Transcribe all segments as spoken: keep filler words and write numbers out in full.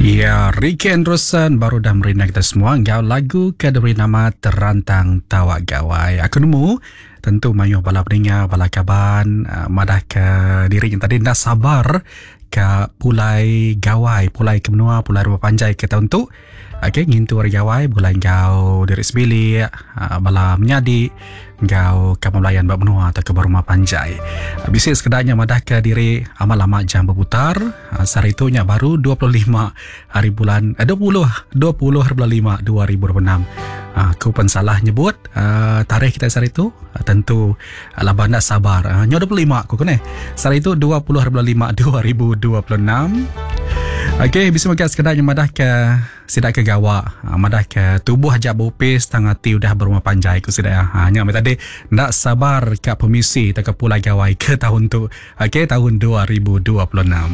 Ya, Ricky Anderson baru dah merindang kita semua enggau lagu ke diberi nama Terantang Tawa Gawai. Aku nemu tentu mayuh bala peninga, bala kaban uh, madah ke diri yang tadi enda sabar ke pulai gawai, pulai ke menua, pulai rumah panjai ke tahun tu. Okey, ngintu hari gawai begulai enggau diri sebilik, uh, bala menyadi enggau kaban belayan ba menua atau ke ba rumah panjai. Uh, bisi sekedanya madah ke diri amat lama jam berputar. Uh, sehari tu nya baru dua puluh lima hari bulan eh, dua puluh dua puluh hari bulan lima dua ribu dua puluh enam. Uh, aku pun salah nyebut uh, tarikh kita sehari tu uh, tentu uh, laban dak sabar. Uh, nyo dua puluh lima aku kene. Sehari tu dua puluh hari bulan lima dua ribu dua puluh enam. Okey, bisa makan sekedar yang madah ke sidak ke gawak, madah ke tubuh aja berupis tang ati udah berumah panjai ku sidak. Ha nya tadi ndak sabar ka permisi tak ke pulai gawai ke tahun tu. Okey, tahun dua ribu dua puluh enam.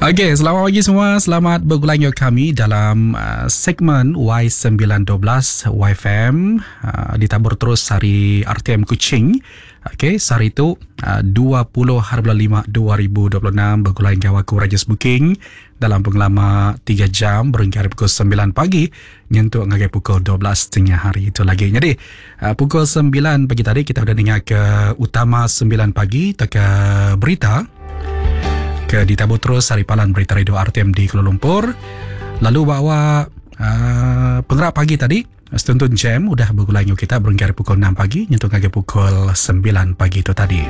Okey, selamat pagi semua. Selamat bergulai dengan kami dalam uh, segmen Y sembilan dua belas Y F M uh, ditabur terus hari R T M Kuching. Okey, sehari itu uh, dua puluh hari bulan lima dua ribu dua puluh enam bergulai dengan aku Rajesh Booking dalam pengelama tiga jam berhingga pukul sembilan pagi nyentuk ngagai pukul dua belas tengah hari itu lagi. Jadi uh, pukul sembilan pagi tadi kita sudah dengar ke utama sembilan pagi ke berita ke ditabur terus hari palan berita radio R T M di Kuala Lumpur. Lalu bawa uh, penggerak pagi tadi Setuntun Jam udah bergulai dengan kita berhingga pukul enam pagi nyentuh ngagai pukul sembilan pagi itu tadi.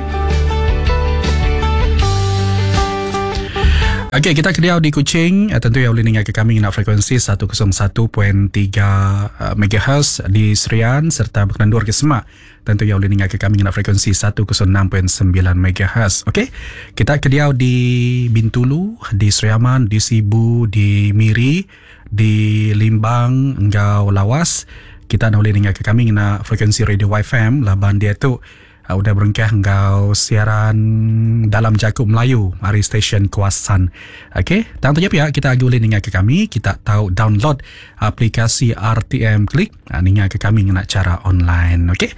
Okey, kita kediau di Kuching, tentu yang boleh dengar ke kami nak frekuensi seratus satu perpuluhan tiga megahertz di Serian serta berkendur ke Semak. Tentu yang boleh dengar ke kami nak frekuensi seratus enam perpuluhan sembilan megahertz. Okey, kita kediau di Bintulu, di Seriaman, di Sibu, di Miri, di Limbang, Enggau Lawas. Kita nak boleh dengar ke kami nak frekuensi radio Y F M laban dia tu uh, udah berengkah enggau siaran dalam Jakub Melayu hari stesen Kuasan. Okey, tentunya pihak kita agi boleh dengar ke kami, kita tahu download aplikasi R T M Klik, uh, dengar ke kami ngena cara online. Okey.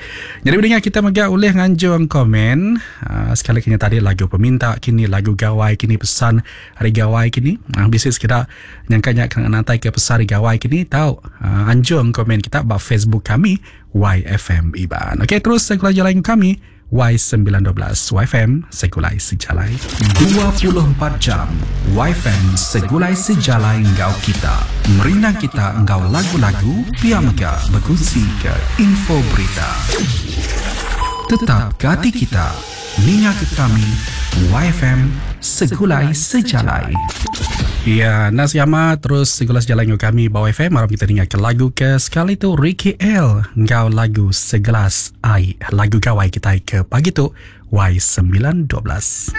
Jadi mendengar kita mega boleh nganjung komen, uh, sekali kini tadi lagu peminta, kini lagu gawai, kini pesan hari gawai kini. Uh, bisik sekeda nyangkanya kena nantai ke pesan hari gawai kini tahu uh, anjung komen kita ba Facebook kami Y F M Iban. Okey, terus segulai jalan kami Y sembilan dua belas Y F M Segulai Sejalai. dua puluh empat jam Y F M Segulai Sejalai engkau kita. Merindang kita engkau lagu-lagu pia mega berkongsi ke info berita. Tetap ke hati kita. Ninga ke kami Y F M Segulai Sejalai. Ya, Nas Yama terus segulai sejalai dengan kami bawah F M. Malam kita dengar ke lagu ke sekali tu Ricky L engkau lagu Segelas Air, lagu gawai kita ke pagi tu Y sembilan dua belas.